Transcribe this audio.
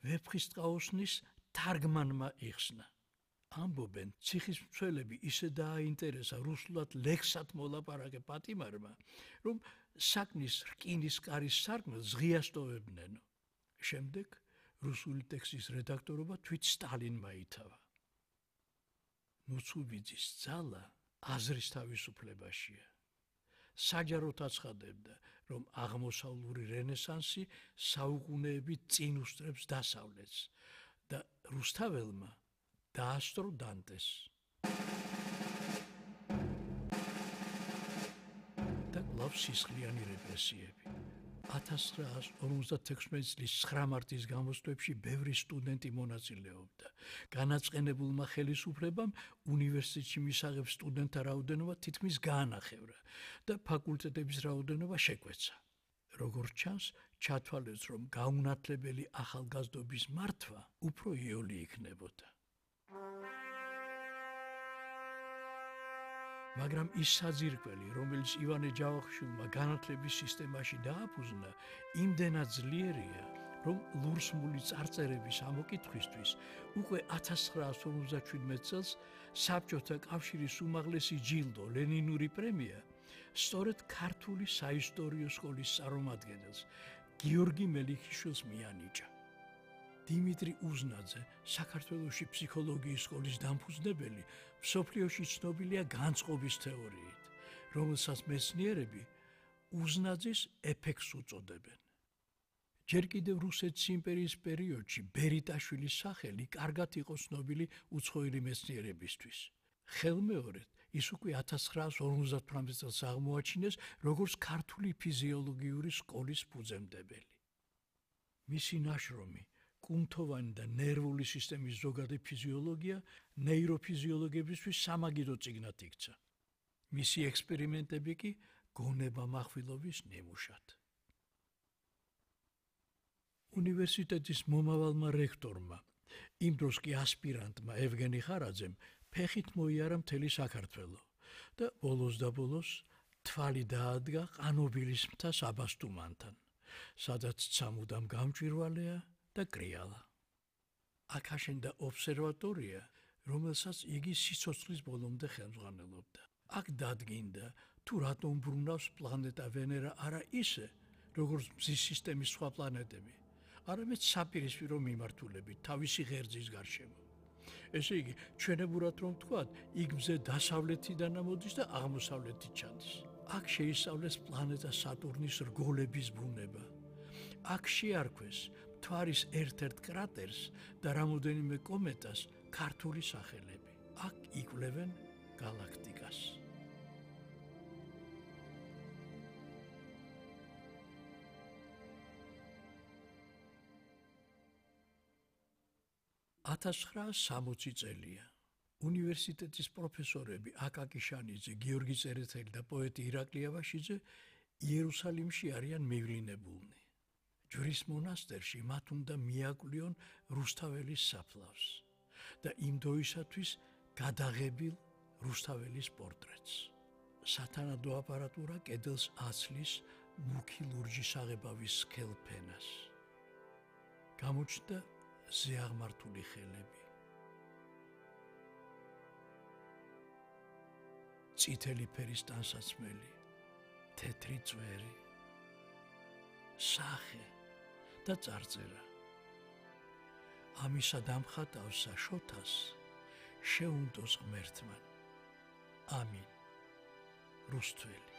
ვეფხისტყაოსნის თარგმანმა იხსნა. ამბობენ, ციხის მცველები ისე დააინტერესა რუსულად ლექსად მოლაპარაკე პატიმარმა, რომ საქმის რკინის კარის სარკმელს ღიას ტოვებდნენო. შემდეგ რუსული ტექსტის რედაქტორობა თვით სტალინმა ითავა. ნუცუბიძის ძალა აზრის თავისუფლებაშია. საჯაროდ აცხადებდა, რომ აღმოსავლური რენესანსი საუკუნეებით წინ უსწრებს დასავლეთს და რუსთაველმა დაასწრო დანტეს. და კვლავ სისხლიანი რეპრესიები. 1956 წლის 9 მარტის გამოსვლებში ბევრი სტუდენტი მონაწილეობდა. განაწყენებულმა ხელისუფლებამ უნივერსიტეტში მისაღებ სტუდენტთა რაოდენობა თითქმის გაანახევრა და ფაკულტეტების რაოდენობა შეკვეცა. როგორც ჩანს, ჩათვალეს, რომ გაუნათლებელი ახალგაზრდობის მართვა უფრო იოლი იქნებოდა. მაგრამ ის საძირკველი, რომელიც ივანე ჯავახიშვილმა განათლების სისტემაში დააფუძნა, იმდენად ძლიერია, რომ ლურსმული წარწერების ამოკითხვისთვის უკვე 1957 წელს საბჭოთა კავშირის უმაღლესი ჯილდო ლენინური პრემია სწორედ ქართული საისტორიო სკოლის წარმომადგენელს გიორგი მელიქიშვილს მიანიჭა. დიმიტრი უზნაძე, საქართველოში ფსიქოლოგიის სკოლის დამფუძნებელი, მსოფლიოში ცნობილია განწყობის თეორიით, რომელსაც მეცნიერები უზნაძის ეფექტს უწოდებენ. ჯერ კიდევ რუსეთის იმპერიის პერიოდში ბერიტაშვილის სახელი კარგად იყო ცნობილი უცხოელი მეცნიერებისთვის. ხელმეორედ ის უკვე 1958 წელს აღმოაჩინეს როგორც ქართული ფიზიოლოგიური სკოლის ფუძემდებელი. მისი ნაშრომი კუნთოვანი და ნერვული სისტემის ზოგადი ფიზიოლოგია ნეიროფიზიოლოგებისთვის სამაგიდო წიგნად იქცა. მისი ექსპერიმენტები კი გონება-מחვილობის ნიმუშად. უნივერსიტეტის მომავალმა რექტორმა, იმ დროს კი ასპირანტმა ევგენი ხარაძემ ფეხით მოიარა მთელი საქართველო და ბოლოს და ბოლოს თვალი დაადგა ყანობილის მთა საბასტუმანთან, სადაც ცამუდამ გამჭვირვალეა და კრიალა. აქ აშენდა ობსერვატორია, რომელსაც იგი სიცოცხლის ბოლომდე ხელმძღვანელობდა. აქ დადგინდა, თუ რატომ ბრუნავს პლანეტა ვენერა არა ისე, როგორც მზის სისტემის სხვა პლანეტები, არამედ საპირისპირო მიმართულებით თავისი ღერძის გარშემო. ესე იგი, ჩვენებურად რომ ვთქვათ, იქ მზე დასავლეთიდან მოდის და აღმოსავლეთით ჩადის. აქ შეისწავლეს პლანეტა სატურნის რგოლების ბუნება. აქ შეარქვეს მთვარის ერთ-ერთ კრატერს და რამოდენიმე კომეტას ქართული სახელები. აქ იკვლევენ გალაქტიკას. $1960 წელია. უნივერსიტეტის პროფესორები აკაკი შანიძე, გიორგი წერეთელი და პოეტი ირაკლი აბაშიძე იერუსალიმში არიან მივლინებულნი. ჯვრის მონასტერში მათ უნდა მიაკვლიონ რუსთაველის საფლავს და იმ დროისათვის გადაღებილ რუსთაველის პორტრეტს. სათანადო აპარატურა კედელს აცლის მუქი ლურჯის აღებავის სქელფენას. გამოჩნდა ზეაღმართული ხელები. წითელი ფერის ტანსაცმელი, თეთრი წვერი, სახე და წარწერა. ამისა დამხატავსა შოთას შეუნდოს ღმერთმან. ამინ. რუსთველი.